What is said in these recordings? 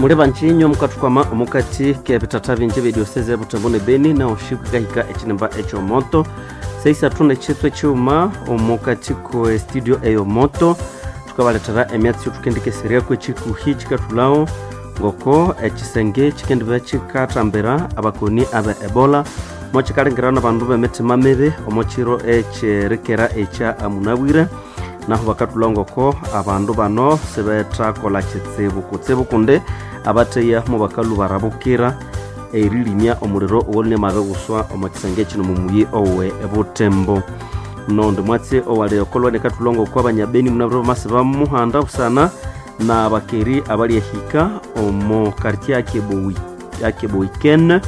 Muli banjinyo mukathukwama omukati k'ebitata bingi b'edioseze Butembo ne Beni naho shikahika ekinimba ekyomoto seisathu n'ekitwe ekighuma omukati ko studio eyomoto thukabalethera emyatsi thukendikeseryaku ekikuhi kikathulhawo ngoko ekisenge kikendibya kikathambira abakoni abe Ebola mokikalingirana abandu b'emitima mibi omo kiro ekyerikera ekya munabwire naho bakathulha ngoko abandu bano sibethakolha kitsibu kutsibu kundi abatheya mubakalhu barabukira erilimya omuliro owalune mabiguswa omo kisenge kino mumuyi owe Butembo. Nondi mwatsi owali okolwa nekathulha ngoko abanyabeni munabwire bamasi bamuhanda busana na bakeri abalyahika omo quartier akeboiken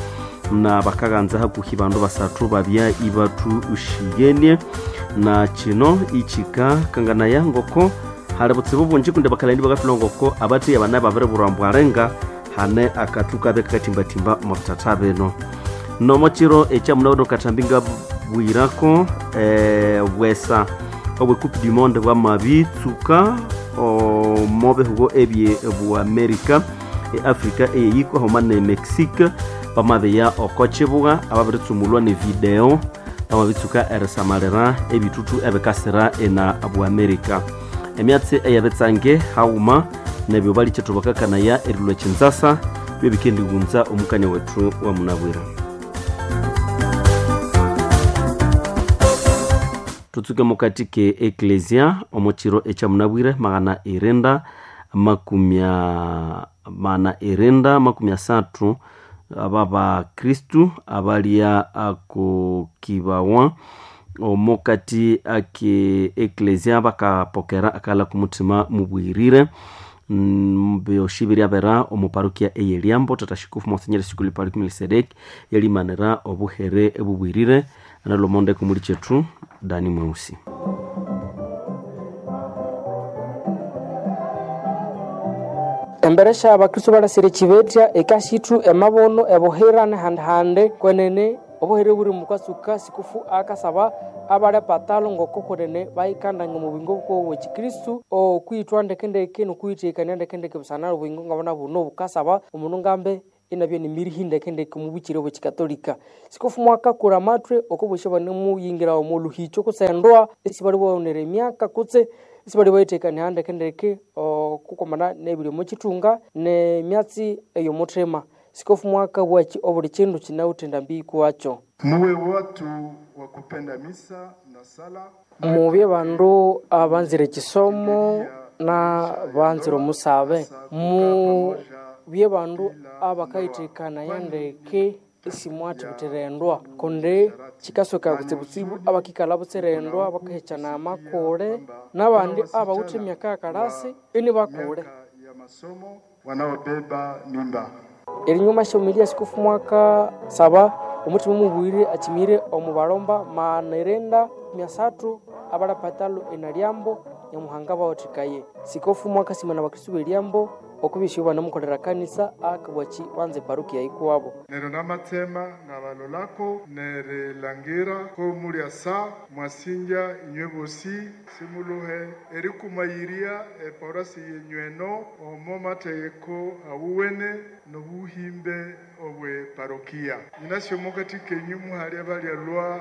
na bakaghanza hakuhi bandu basathu babya ibathuxiyenie na kino ikika kanganaya ngoko hali butsibu bungi kundi bakalani bakathulha ngoko abatheya bana babiribulhwa mbwalenga hane akathu kabe kakathimbathimba omo bithatha bino. Nomo kiro ekyamunabwire kathambi ngabwirako bwesa obwe Coupe du Monde bwamabitsuka omo bihugo ebye bwa America, Africa eyeyiko homa ne Mexique bamabiya oko kibuga ababiritsumulwa ne video bamabitsuka erisamalira ebithuthu ebikasira ena bwa America. Emyatsi eyabitsange haghuma nebyo balikethu bakakanaya erilwa ekinzasa byebikendighunza omukanya wethu wa munabwire. Tutsuke mukati ke eklesia omo kiro ekyamunabwire maghana irinda makumi asathu aba bakristu abalya akukibawa omukati ake eklesia bakapokera akalha kumuthima mubwirire byoshi biryabera omu parokia ey'Eliambo. Tata Shikufu Monsinyeri Sikuli Paluku Melkisedeki yalimanira obuhere ebubwirire analomondeko muli kyethu Dani Mweusi. Embere sya abakristo balasire ekibetya ekasithu emabono ebuhira nehandihandi kwenene obuhere buri mukasuka sikufu akasaba abali epatalo ngoko kwenene bayikandanya omu buyingo bwabo ekikristu okwithwa ndekendeke nokwithekania ndekendeke busana obuyingo ngabana buno bukasaba omundu ngambe inabya nimirihi ndekendeke omu bukiri obwekikatolika. Sikufu mwakakura amathwe okobosya banemuyingira omu luhicho kutse endoa esibali bawonera emyaka kutse esibali bayithekania ndekendeke okukomana nebiri omu kithunga nemyatsi eyomuthima. Sikofu mwaka bwaki obuli kindu kinawuthe endambi kuwakyo. Muwe watu wa kupenda misa na sala. Mubye bandu abanzire ekisomo na banzire omusabe. Mubye bandu abakayithekania ndeke esimwathibithira endwa kundi kikasoka kutsibutsibu abakikalha butsira endwa bakahekyana amakule nabandi abawithe emyaka yakalasi inibakule. Ya masomo wanaobeba mimba. Erinyuma syomilia sikufu mwaka saba omuthima mubwire akimire omu balomba maghana irinda myasathu abalapatalo enaliambo nyamuhanga bawathikaye. Sikofu mwaka simana abakristu b'eliambo okubisyo banamukolera kanisa akabwaki banza eparukia yikuwabo. Nero namatsema ngabalolako nerilangira ko mulya sa mwasinja inywe bosi simuluhe erikumayiria epaurasi yenyweno omo mategeko awuwene nobuhimbe obwe parokia. Nyinasyo mukati kenyu muhali abalyalwa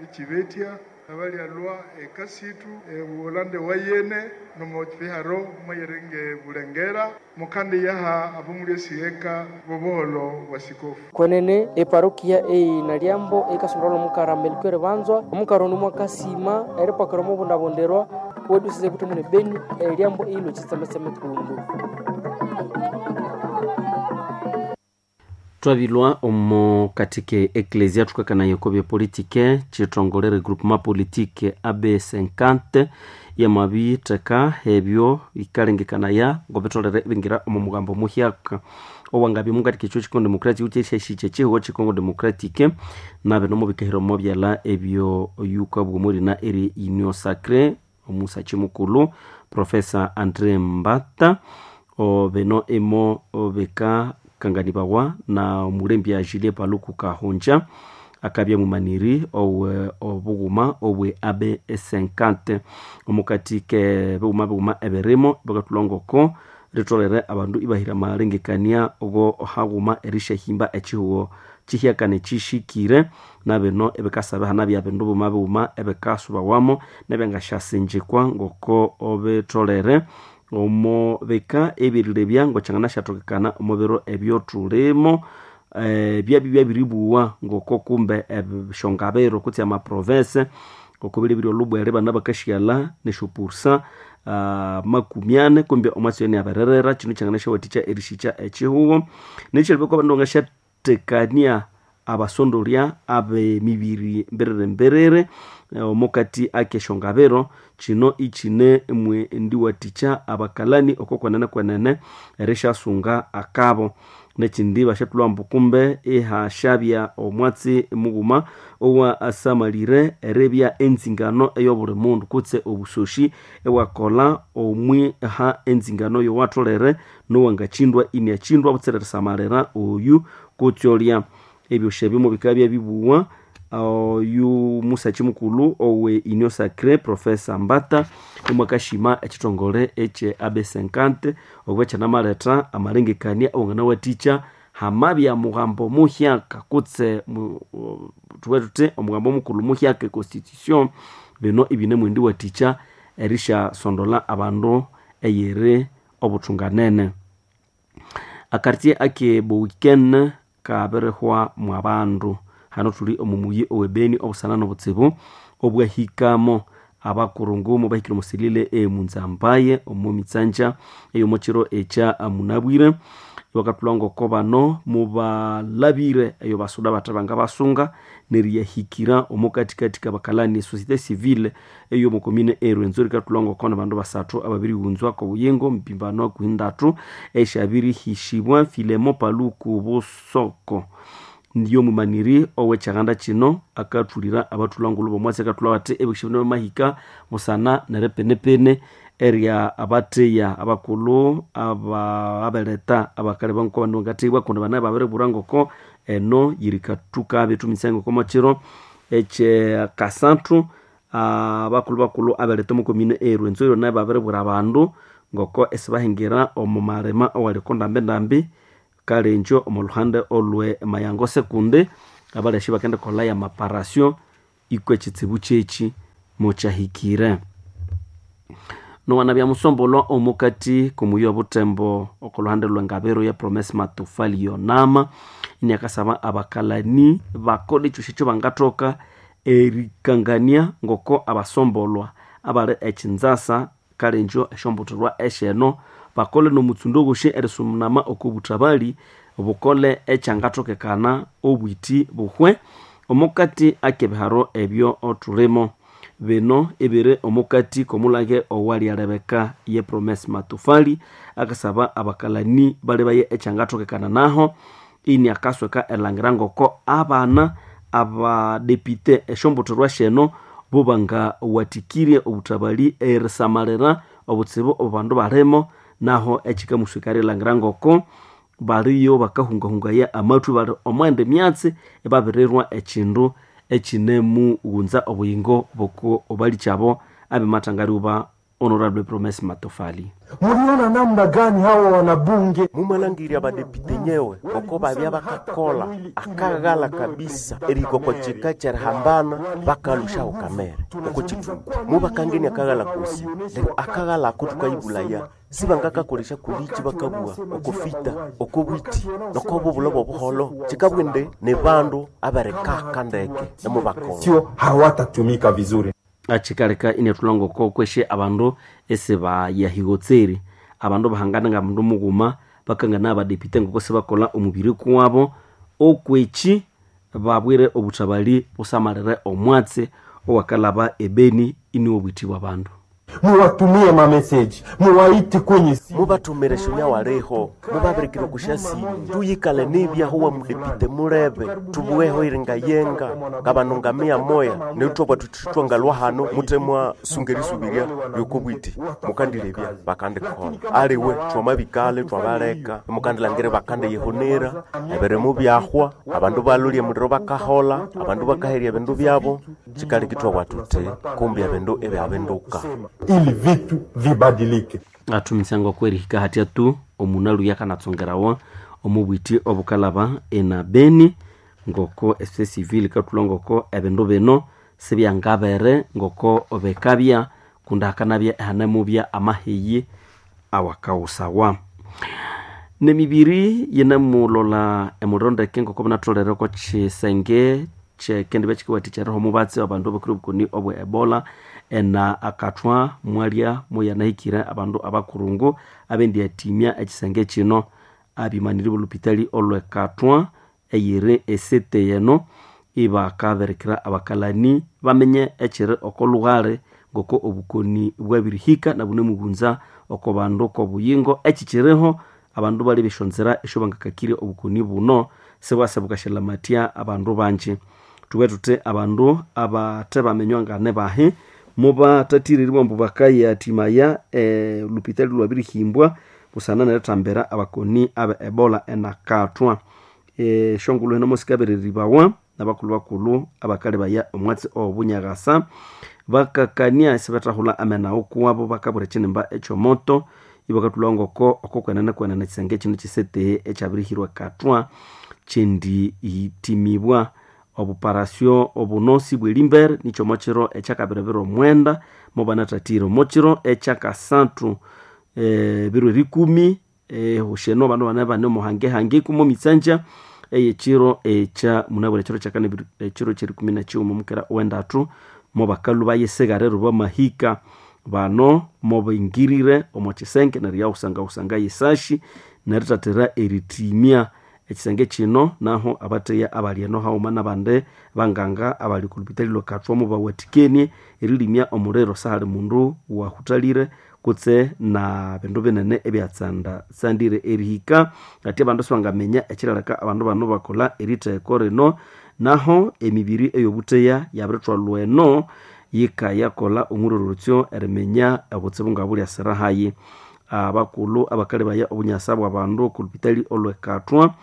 ekibetya abalyalwa ekasitu ebuholande wayene nomokiharo mwayerenge bulengera mukandi yaha abomuli esiheka bobuholo bwa sikofu. Kwenene eparokia eyinaliambo ekasondolwa omukara Melchior Banzwa omukara ono mwakasima eripakira omubundabundirwa wedusise Butembo ne Beni eliambo eyilwa ekitsemetseme kundu. Twabilwa omo katike eklesia thukakanaya oko byepolitike kithongole regroupement politique AB50 yamabitheka ebyo bikalengekanaya ngobitholere ibingira omo mugambo muhyaka owangabya mukati kekyo Congo Democratic kyesyahikya ekihugo kye Congo Democratic nabino mubikahira omo byalha ebyo yukabwa omwirina eri Union Sacrée omusakyi mukulhu Professor Andre Mbata bino imo bikakanganibawa na omulembya Julien Paluku Kahongya akabya mumaniri owe obughuma obwe AB50 omukati ke bighuma bighuma ebirimo bakathulha ngoko Ritolere abandu ibahira amalengekania go haghuma erishahimba echihugo chihyakane chishikire. Na bino ebikasaba hanabya bindu buma bighuma ebikasubawamo nebyangasyasinjikwa ngoko bitolere omo bika ebirilebya ngokyanganasyathokekana omo biro ebyothulimo. Byabya byabiribuwa ngoko kumbe esyongabiro kutse amaprovince ngoko bilebire olhubwere bana bakashyalha nesyopurusa 40 kumbe omwatsi oyo iniabiririra. Kino kyanganasyawathikya erishikya ekihugo. Nekyalebya abandu bangasyathekania abasondolya ab'emibiri mbiriri mbiriri omukati akesyongabiro. Kino ikine ndiwathikya abakalani oko kwenene kwenene erisyasunga akabo. Nekindi basyathulha ambu kumbe ihasyabya omwatsi mughuma owa asamalire eribya enzingano eyobuli mundu kutse obusoshi ewakolha omwiha enzingano yowatholere nowangakyindwa iniakyindwa butsira erisamalira oyu kutse olya. Ebyosi ebyo mubikabya bibuwa oyu musakyi mukulhu owe Union Sacrée Professor Mbata omwakashima ekithongole ekye AB50 okuba kyanamaletha amalengekania awanganawathikya hamabya mughambo muhyaka kutse thubughe thuthi omughambo mukulhu muhyaka econstitution. Bino ibinemwendiwathikya erisyasondolha abandu eyiri obuthunganene. Akartier ake Bowiken kabirihwa mwabandu. Hano thuli omu muyi ow'ebeni obusana n'obutsibu obwahikamo. Abakurungu mubahikire omusilile emunzambaye omu mitsanja ey'omukiro ekya munabwire. Bakathulha ngoko bano mubalabire eyo basuda bathe bangabasunga neriyahikira omu katikati kabakalani société civile eyomu komine erwenzori. Ikathulha ngoko ni bandu basathu ababirighunzwa kobuyingo mpimbano kuhindatu esyabirihishibwa. Filemo Paluku Busoko ndiyo mumaniri ow'ekyaganda kino akathulira abathulha ngulhu b'omwatsi akathulha athi ebihikyo bino bamahika busana neripenepene erya abatheya abakulhu abeletha abakali ngoko bandu bangathebwa kundi banabe babiribwira ngoko eno yirikathuka bethuminyisaya ngoko omwakiro ekyakasathu abakulhu bakulhu abeletha omu komine erwenzori nabo babiribwira abandu ngoko isibahingira omu malima awali oko ndambindambi kalengyo omu luhande olwe Mayango sekundi abalyashi bakendikolha amaparasyo ikwa ekitsibu kyeki mukyahikire. Nowanabya musombolwa omukati komuyi obutembo oko luhande lwengabiro ya Promesse Matofali Yonama iniakasaba abakalani bakola ekyosi ekyobangathoka erikangania ngoko abasombolwa abali ekinzasa kalengyo esyombutholwa esyeno bakole nomutsundo wosi erisunama oko buthabali bukole ekyangathokekana obwiti buhwe omukati akebiharo ebyo thulimo. Bino ebiri omukati komulage owalyalebeka ye Promesse Matofali akasaba abakalani balibaye ekyangathokekana naho iniakasweka erilhangira ngoko abana abadepite esyombutholwa syeno bo bangawathikirye obuthabali erisamalira obutsibu obu bandu balimo naho ekikamusweka erilhangira ngoko baliyo bakahungahungaya amathwi bali omwenda emyatsi ibabirirwa ekindu ekinemughunza obuyingo boko obalikyabo abimathangaliwa Honorable Promesse Matofali. Muliona namna gani hawa wanabunge mumalangirya abadepite nyewe ngoko babya bakakola akaghala kabisa erikoko kika kyerihambana bakalushaho kamere oko kithungu mubakangenia akaghala kosi neryo akaghala ako thukayibulaya sibangakakolesya kulichi bakabugha okofita okobwiti nokobubulho bobuholo kikabwende ni bandu aberikaka ndeke nemubakola sio hawatatumika vizuri. Achikaleka inyathulha ngoko kweshe abandu esibayahigotseri abandu bahangana nga mundu mughuma bakangana abadepite ngoko sibakolha omubiri kuwabo okweki babwire obuthabali busamalire omwatsi owakalaba ebeni iniwo obwiti bwa bandu. Muwatumie mameseji, muwaite kwenye simu, mubatumire shunya waliho mubabirikire kushasimu tuyikale nibyaho wa mudepite mulebe tubuweho iringayenga ngabandu ngamia moya neryo thwabwa ngalwa hano mutemwa sungerisubiria lyokobwiti mukandilebya bakandikola aliwe twamabikale twabaleka mukandilangire bakandiyihunira ebirimu byahwa abandu balolya muliro bakahola abandu bakaherya ebindu byabo kikaleki thwabwa thuthi kumbi ebindu ebyabinduka ili vitu vibadilike. Athumisango okwerihika hatya tu omunalu yakanatsongerawa omubwiti obukalaba ena Beni ngoko esociété civile ikathulha ngoko ebindu bino sibyangabere ngoko bikabya kundi hakanabya ihanemubya amaheyi awakaghusawa. Nemibiri yinemulola emuliro ndeke ngoko binatholere oko kisenge kyekendibya kikawathikya eriha omubatsi abandu abakire obukoni obwe Ebola ena akathwa mwalya muyanahikire abandu abakurungu abendiyathimya ekisenge kino. Abimaniri bolupitali olwekathwa eyiri esete yeno ibakabirikira abakalani bamenye ekiri oko lughali ngoko obukoni bwabirihika nabunemubunza oko bandu kobuyingo ekikiriho abandu bali beshonzera esyo bangakakirya obukoni buno sibwasa bukashalamathya abandu banji. Thubwe thuthi abandu abathe bamenywa ngane bahi mubathathirirwe ambu bakayathimaya lupitali lwabirihimbwa busana nerithambira abakoni abe Ebola enakathwa. Esyongulhu hino musikabereribawa nabakulhu bakulhu abakalebaya omwatsi owobunyakasa bakakania isibethahulha amena ukuwabo bakabwira ekinimba ekyomoto ibakathulha ngoko okokwenene kwenene ekisenge kino kiseteye ekyabirihirwa ekathwa kyendihithimibwa. Obuparasyo obuno sibwerimbere nikyo omokiro ekyakabiribiro omwenda mubanathathire. Omokiro ekyakasathu biro erikumi husheno abandu bane bane omuhangehange kumo mitsanja eyekiro ekya munabwire ekiro kyakane ekiro kyerikumi nakighuma omukera owendathu mobakalhu bayisigharira bamahika bano mobingirire omo kisenge neryo yaghusangahusanga yesashi nerithathira erithimya ekisenge kino. Naho abatheya abali eno haghuma nabandi banganga abali oku lupitali lwekathwa mubawathikenie erilimya omuliro sahali mundu wahuthalire kutse na bindu binene ebyatsanda tsandire erihika ati abandu sibangaminya ekirileka abandu bano bakolha eritheko rino. Naho emibiri eyobutheya yabirithwalwa eno yikayakolha omwirorotsyo eriminya obutsibu ngabulyasira hayi. Abakulhu abakalebaya obunyasa bwa bandu oku lupitali olwekathwa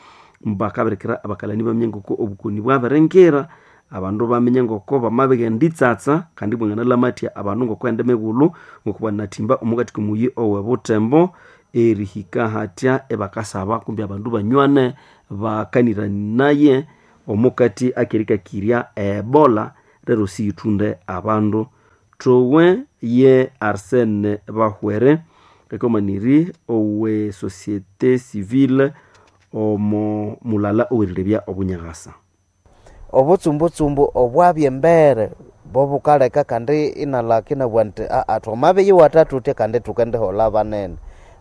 bakabirikira abakalani baminya ngoko obukoni bwabiringira abandu baminya ngoko bamabighenda itsatsa kandi bwanganalamathya abandu ngoko ende mighulhu ngoko banathimba omukati komuyi owe Butembo erihika hatya ibakasaba kumbi abandu banywane bakaniranaye omukati akerikakirya Ebola rero siyithunde abandu. Thowe ye Arsene Bahwere ekomaniri owe société civile omo mulala owerilebya obunyakasa. Obutsumbutsumbu obwabya embere bobukaleka kandi inalaka inabugha nti aa twamabiyiwatha thuthya kandi thukendiholha banene.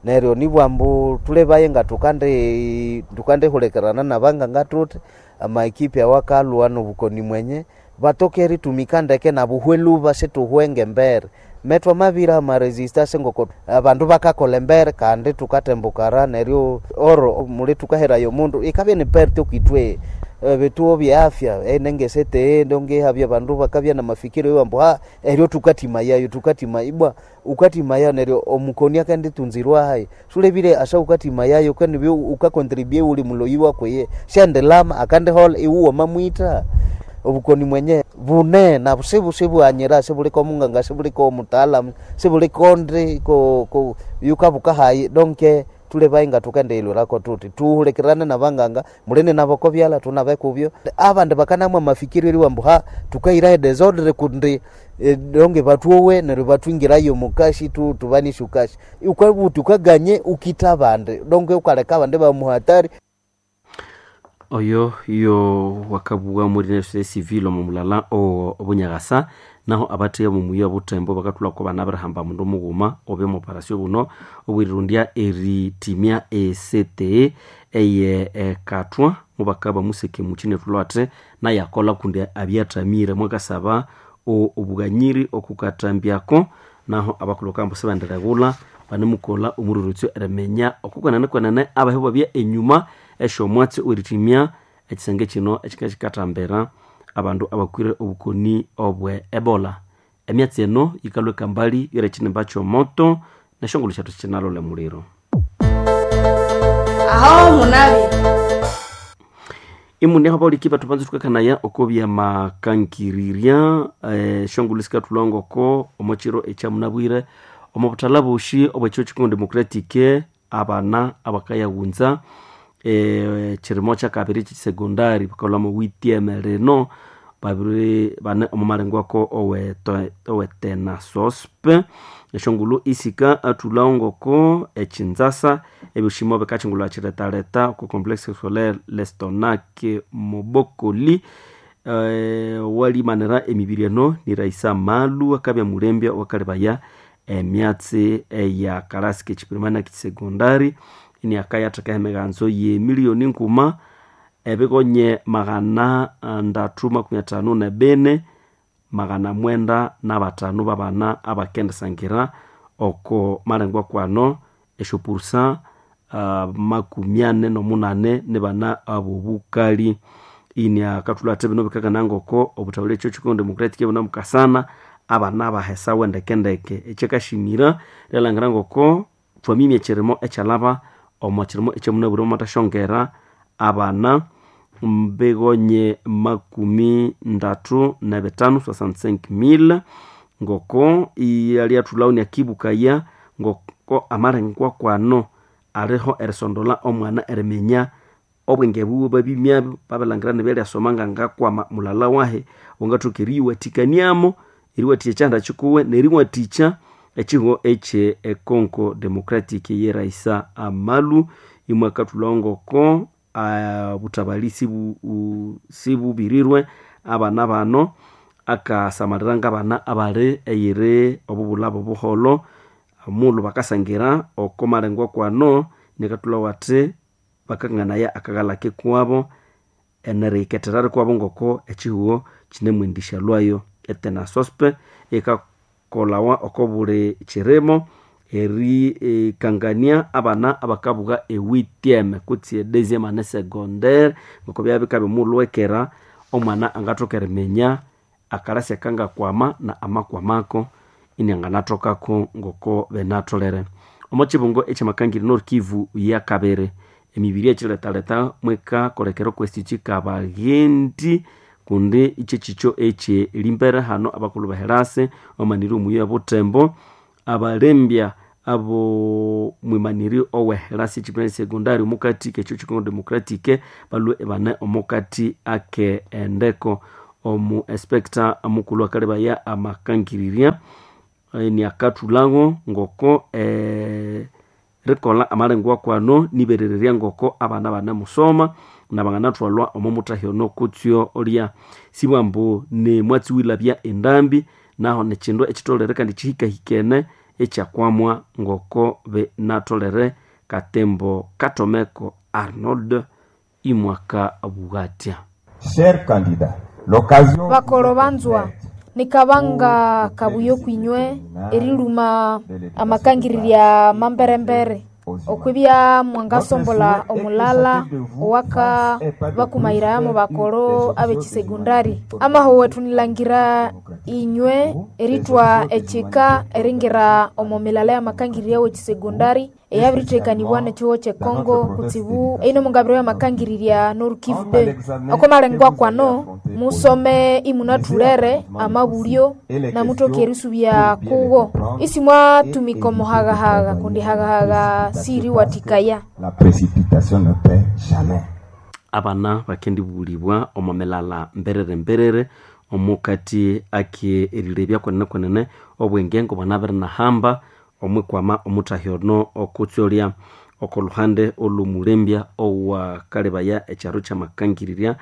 Neryo nibugha ambu thulebaye nga thukandihulikirana nabanganga thuthi amaekipi awakalhwa nobukoni mwenye batoke eritumika ndeke nabuhwe lhuba situhwenge embere. Metwamabira amaresistance ngoko abandu bakakolha embere kandi thukatembukara neryo oro muli thukaherayo omundu ikabya ni perte okwithwe ebituo bye afya enengesete ndonge habya abandu bakabya namafikiro iwambu ha eryo thukathimayayo thukathima ibwa ukathimayayo neryo omukoni akenditunzirwa hayi sulebire asa ukathimayayo kandi ukakontribue uli muloyi wakweye syandilama akandiholha iwu wamamwitha. Obukoni mwenye bune na sibwanyira sibuliko omunganga sibuliko omutaalamu sibuliko ndi ko yukabuka hayi donke tulebaye nga thukendighilhwirako thuthi thuhulikirane nabanganga mulini nabo kobyalha thunabe kubyo. Abandi bakanamwa amafikiro eriwa ambu ha thukahirayo edesordre kundi donge bathuowe neryo bathwingirayo omukashi thubanisye ukashi ukabuthi ukaganye ukitha abandi donge ukaleka abandi bamuhatari. Oyo yo wakabugha muri société civile omo mulala obunyakasa. Naho abatheya bomuyi obuthembo bakathulha ko banabirihamba mundu mughuma obe omuparasyo buno obwerirondya erithimya esete eye ekathwa mubakaba museke mukyi nethulha athi nayakolha kundi abyathamire mwakasaba obughanyiri okukathambyako. Naho abakulhu bakambu sibendireghulha banemukolha omwirorotsyo eriminya okukwenene kwenene abahi babya enyuma esyomwatsi owerithimya ekisenge kino ekikakikathambira abandu abakwire obukoni obwe Ebola. Emyatsi eno yikalhwa ekambali yore ekinimba kyomoto nesyongulhu syathu sikinalolha emuliro. Aho munabi Imune habauliki bathu banza thukakanaya oko byamakangirirya esyongulhu sikathulha ngoko omokiro ekyamunabwire Omo buthala boshi obwekyo Congo Democratic abana abakayaghunza kirimo kyakabiri kyekisegondari bakalhwa mu witieme lino babiri bane omo malengwako owetenasospe esyongulhu isika athulhawo ngoko ekinzasa ebyoshimo bikakyingulha kiretaleta oko complexe scolaire lestonac mobokoli walimanira emibiri eno ni Raisa Malu akabya mulembya owakalebaya emyatsi eya kalasi k'ekiprimari na k'ekisegondari iniakayathekaho emiganzo ye miliyoni nguma ebigonye 354 905 babana abakendisangira oko malengwa kwano esyopurusa 48 nibana abobukali. Iniakathulha athi bino bikakana ngoko obuthabuli ekyo Congo Democratic bunamukasana abana bahesawe ndekendeke. Ekyakashimira lyalangira ngoko thwamimya ekirimo ekyalaba omo kirimo ekyamunabwire mwamathasyongera abana mbigonye 35 65000 ngoko iyalyathulhawo inakibukaya ngoko amalengwa kwano aliho erisondola omwana eriminya obwenge buwe babimyabyo babilangira nibyalhyasoma ngangakwama mulala wahe wangathoka eriyiwathikaniamo eriwathikya ekyihanda kikuwe neriwathikya ekihugho ekye Congo Democratic ye Raisa Amalu. Imwakathulhawo ngoko buthabali sibubirirwe abana bano akasamalira ngabana abali eyiri obubulha buholho omulhu bakasangira oko malengwa kwano inakathulhawo athi bakanganaya akaghalha kikuwabo eneriyikethera rikuwabo ngoko ekihugho kinemwendisya lwayo. Etenasospe ikakolhawa oko buli kirimo erikangania abana abakabuga ewitieme kutse edeuxième année secondaire ngoko byabya bikabya omulhwekera omwana angathoka eriminya akalasi akangakwama na amakwamako inianganathokako ngoko binatholere. Omo kibungo ekyamakangiri Nord Kivu yakabiri emibiri ekyiretaleta mwikakolekera okwesi kabaghendi kundi ikyekikyo ekye limbere hano abakulhu beherasi bamanire omuyi obutembo abalembya abo mwimaniri oweherasi ekiprimary secondary omukati kekyo Congo Democratic balwe ibane omukati ake endeko. Omu inspector mukulhu akalebaya amakangirirya iniakathulhawo ngoko rikolha amalengwa kwano niberererya ngoko abana banemusoma nabanganathwalwa omo mutahyo ono kutsyo olya. Sibwambu ni mwatsi wilabya endambi naho nikindu ekitholere kandi kihikahikene ekyakwamwa ngoko binatholere. Katembo Katomeko Arnold imwaka bughatya. Chers candidats, l'occasion Bakolo banzwa nikabanga kabuyo kwinywe eriluma amakangirirya mamberembere okwibya mwangasombola omulala owaka bakumayirayamo bakolo ab'ekisegondari. Amaho wetu nilangira inywe eritwa ekika eringira omo milala y'amakangirirya w'ekisegondari eyabirithekanibwa n'ekihugho ky'ekongo kutsibu eino mungabiro y'amakangirirya Nord Kivu 2. Oko malengwa kwano musome imunathulere amabulyo namuthoka erisubya kuwo isi mwatumika omuhaghahaga kundi haghahaga siriwathikaya. La précipitation ne paie jamais. Abana bakendibulibwa omo milala mberere mberere omukati ake erilebya kwenene kwenene obwenge ngobwanabiri-nahamba omwikwama omuthahyono okutsolya. Oko luhande olwomulembya owakalebaya ekyaro kyamakangirirya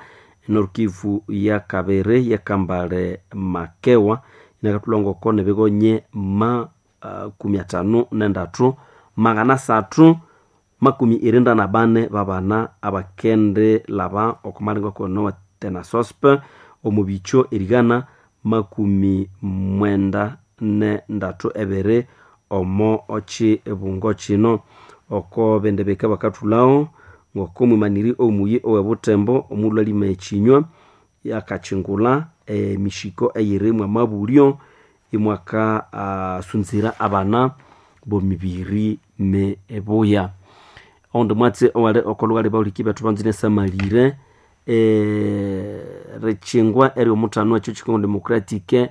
Nord Kivu yakabiri yakambale makewa inakathulha ngoko nibigonye 53 394 babana abakende laba oko malengo kono tenasospe omu bikyo erigana 93 omo okibungo kino. Oko bende bika bakathulhawo ngoko mwimaniri omuyi owebutembo omulhu alima ekinywa yakakyingulha emishiko eyiri mwamabulyo imwaka sunzira abana bomibiri mibuya. Oundi mwatsi owali okolhughali bahuliki bethu banzire samalire rikyingwa eryomuthano ekyo Congo Democratic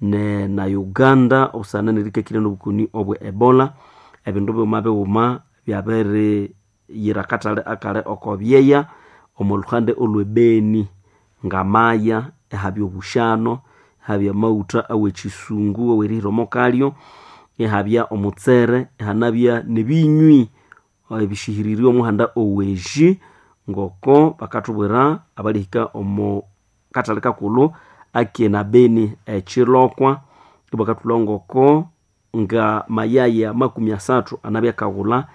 ne na Uganda obusana nerikakirya nobukoni obwe Ebola. Ebindu bighuma bighuma byabiriyira akatale akali oko byeya omo luhande olwe Beni, ngamaya ihabya obushano, ihabya amaghutha awekyisungu awerihira omo kalyo, ihabya omutsere, ihanabya nebinywi ebishihirirye omuhanda oweji, ngoko bakathubwira abalihika omo kathali kakulhu akina Beni ekyilokwa. Ibakathulha ngoko nga mayaya 30 anabya akaghulha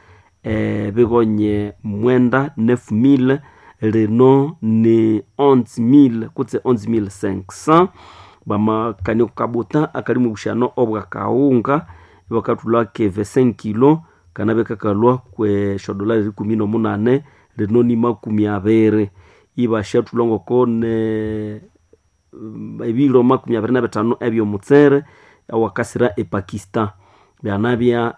ebighonye 9 9000, lino ni 11000 kutse 11500. Bamakania okukabuta akalimu obushano obwakaghunga, ibakathulha keve 5 kilo kanabya kakalhwa kweshodolari 18, lino ni 20. Ibasyathulha ngoko ne ebiro 25 ebyomutsere awakasira ePakistan. Byanabya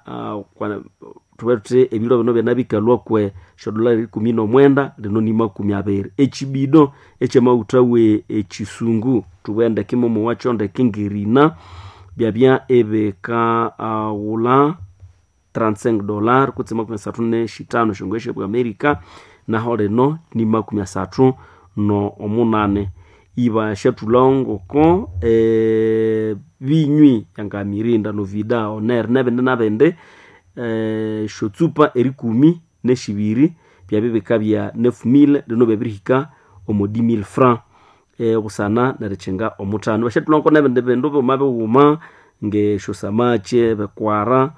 thube thuthi ebiro bino byanabikalhwa kwe shodolari 19, lino ni 20. Ekibido ekyamaghutha we ekisungu thubughe ndeke momo wakyo ndeke ngerina byabya ibikaghulha $35 kutse 35 esyongoye syobwa Amerika, naho lino ni 38. Ibasyathulha ngoko binywi nga Mirinda, Novida, Oner nebindi nabindi, esyotsupa erikumi nesyibiri byabya bikabya 9000, lino byabirihika omo 10000 francs obusana nerikyinga omuthano. Ibasyathulha ngoko nebindi bindu bighuma bighuma ngesyosamaki, ebikwara,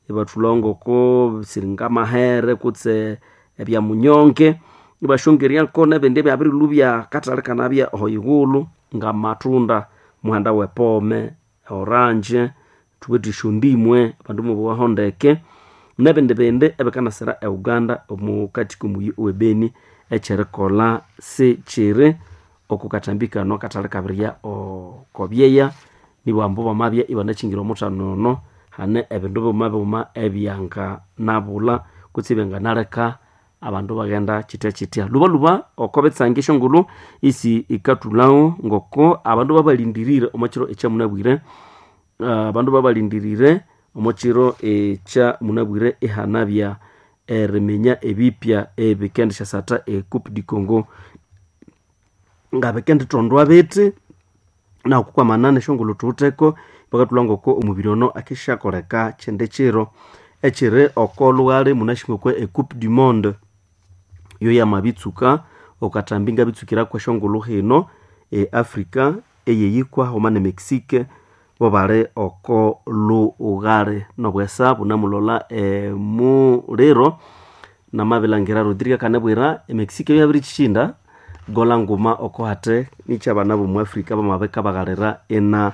ibathulha ngoko siri ngamahere kutse ebyamunyonge. Ibasyongeryako nebindi ebyabirilhwa byakathalhi kanabya ohoyighulhu ngamatunda, omuhanda wepome, orange, thuwithe esyondimwe abandu mubowaho ndeke, nebindi bindi ebikanasira e Uganda omukathi komuyi owe Beni. Ekyerikolha sikyiri oko kathambi kano akathalhi kabirya oko byeya, nibambu bamabya ibanakyingira omuthano ono, hane ebindu bighuma bighuma ebyanganabulha kutse ebyanganaleka abandu baghenda kyithya kyithya. Lhubalhuba oko bitsange esyongulhu isi ikathulhawo ngoko abandu babalindirire omo kiro ekyamunabwire, abandu babalindirire omo kiro ekyamunabwire ihanabya eriminya ebipya ebikendisyasatta e Coupe du Congo ngabikendithondwa bithi. Naku kwamana nesyongulhu thuwitheko, bakathulha ngoko omubiri ono akisyakoleka kyindi kiro ekyiri oko lhughali munasi ngoko e Coupe du Monde yo yamabitsuka okathambi ngabitsukiraku esyongulhu hino e Africa eyeyikwa haghuma ne Mexique bo bali oko lughali nobwesa bunamulola emuliro. Namabilangira Rodrigo akanabwira e Mexique yabirikyishinda gola nguma oko hathe nikyabana bomu Africa bamabika baghalira ina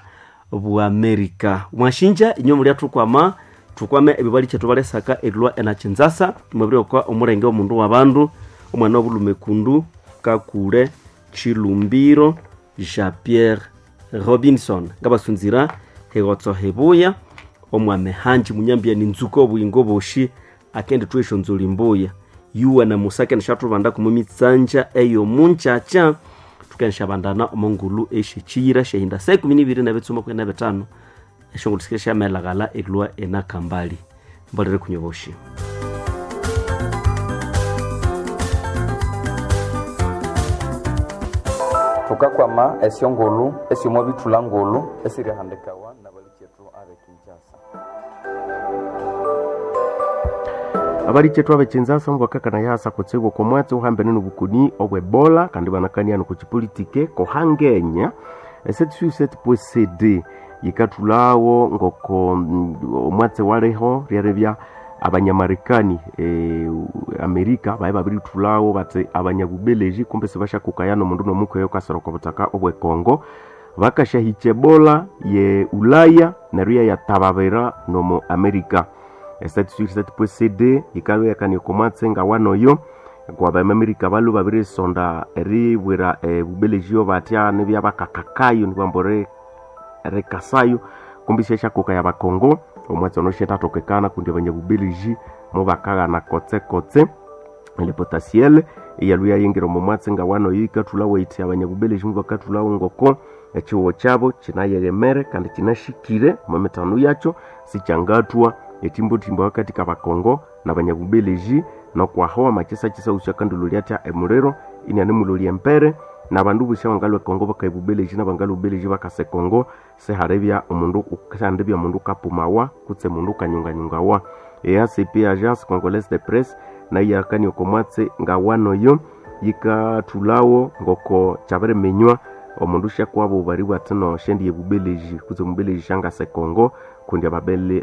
Bwamerika. Mwashinja inywe mulya thukwama thukwame ebibali kyethu balesaka erilwa ena Kinzasa mwabirioka omulenge omundu wabandu omwana wobulhume kundu Kakule Chilumbiro Jean Pierre Robinson ngabasunzira higotso hibuya omwame hanji munyambia ninzuka obuyingo boshi akendi thwa esyonzoli mbuya yuwa na Musa akendisyathubanda kumumitsanja eyo munkyakya thukendisyabandana omo ngulhu esyekyiyira syahinda saa 12 nebitsuma 15 esyongulhu sikesya syamelaghala erilwa ena Kambali. Mbolere kunywa boshi. Thukakwama esyongulhu esyomo bithulha ngulhu esirihandikawa nabalikyethu abe Kinshasa. Abalikyethu abe Kinshasa mubakakana yasa kutsibu okomwatsi uhambene nobukoni obwe Ebola kandi banakania nokukipolitike kohangenya 7.7.cd yikathulhawo ngoko omwatsi waliho ryeribya abanyamarekani Amerika baye babirithulhawo bathi abanyabubeleji kumbe sibashyakukaya nomundu nomukweyo okasira oko buthaka obwe Congo bakasyahikya Ebola ye Ulaya neryo yayatababira nomo Amerika. 7.7.cd yikalwa yakania okomwatsi ngawanoyo kwabamamerika balwe babirisonda eribwira ebubeleji batya nibya bakakakayo nibwambu rikasayo kumbi syasyakuka ya bakongo omwatsi ono syathathokekana kundi abanyabubeleji mubakaghana kotsekotse le potasiel eyalwe yayingira omo mwatsi ngawanoyo yikathulhawo yithi abanyabubeleji mubakathulhawo ngoko Ekihugo kyabo kinayeghemere kandi kinashikire omo mithano yakyo, sikyangathwa etimbotimbo hakati kabakongo nabanyabubeleji. Nokwaho amakisakisa wusi akandilolya atya emuliro inianemulolya embere, nabandu bosi abangalhwa ekongo bakaya ebubeleji, nabangalhwa ebubeleji bakasa ekongo, sihalibya omundu sihandibya omundu wukapumawa kutse omundu wukanyunganyungawa. EACP, Agence Congolaise de Presse, nayo yakania oko mwatsi ngawanoyo, yikathulhawo ngoko kyabiriminywa omundu syakwabo baribwa athi no syendiya ebubeleji kutse omubeleji syangasa ekongo, kundi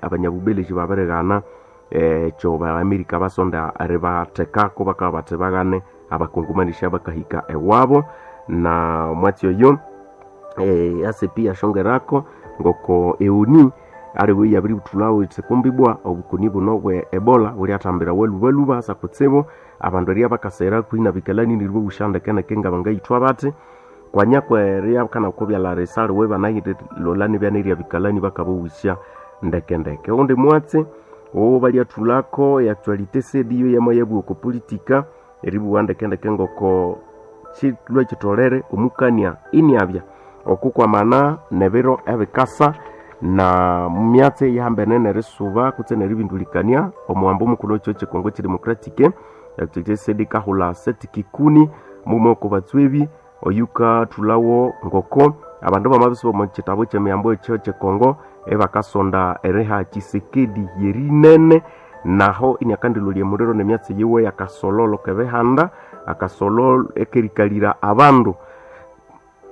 abanyabubeleji babirighana ekyo ba-Amerika basonda eribathekako, bakabugha bathi baghane abakongomani syabakahika ewabo. Na omwatsi oyo EACP yasyongerako ngoko eONU aliwe yabirithulhawo yithi kumbi ibwa obukoni buno bwe Ebola bulyathambirawa lhubalhuba hasa kutsibu abandu eribya bakasegherera hakuhi nabikalani neryo ibabusya ndekeneke ngabangayithwa bathi. Kwanya kweribya kanakubyalha risaliwe banayirilolha nibya nerya bikalani bakababusya ndekendeke. Owundi mwatsi owobalyathulhako e actualité sediyo yamayabuwa oko politika, eribuwa ndekendeke ngoko kilhwe kitolere omukania iniabya okukwamana nebiro ebikasa na myatsi eyihambene nerisuba kutse neribindulikania omuwambo mukulhu wekihugho kyekongo kyedemocratic. Actualité sedi kahulha Seth Kikuni, mughuma woko batswebi, oyukathulhawo ngoko abandu bamabisuba omo kitabu kyemiyambo ekyo kyekongo ebakasonda eriha Tshisekedi yerinene, naho iniakandilolya emuliro nemyatsi yiwe yakasololo kebihanda, akasololo ekerikalira abandu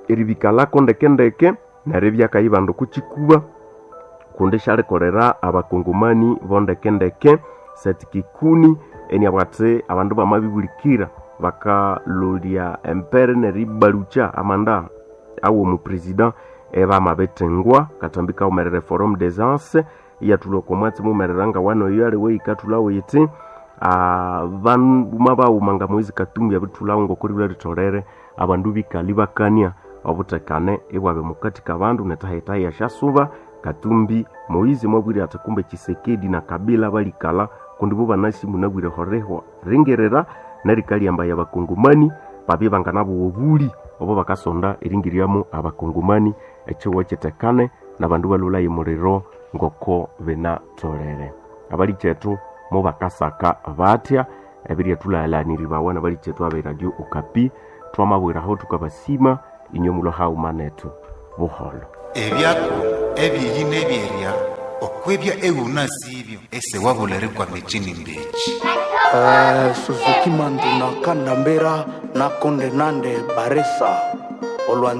eribikalako ndekendeke neribya akayibanda oko kikuba kundi syalikolera abakongomani bondekendeke. Seth Kikuni eniabugha athi abandu bamabibulikira bakalolya embere neribalukya amanda awo omupresident ebamabithengwa. Katambi kawumerere Forum des Anses iyathulha oko mwatsi muwumerera ngawano oyo aliwe yikathulhawo yithi bandu bawuma nga Moise Katumbi abirithulhawo ngoko ribulha ritholere abandu bikalha ibakania obuthekane ibwabya omukati kabandu netahitahi esyasuba. Katumbi Moise mwabwire athi kumbe Tshisekedi na Kabila balikalha kundi bo banasi munabwire horihwa ringirira nerikalyambaya abakongomani babye banganabuwa obuli obo bakasonda eringiryamu abakongomani ekihugho kitekane nabandu balhulhaye omuliro ngoko binatholere. Abalikyethu mubakasaka batya ebiryathulalhaniribawa nabalikyethu abe Radio Okapi. Twamabwiraho thukabasima inywe mulwe haghuma nethu. Buholho. Ebyako ebyeyi nebyerya okwebya eghunasibyo esewabula erikwama ekyinimba eki. Suzuki Manduna Kandambera na Konde Nande Baresa olwanzo.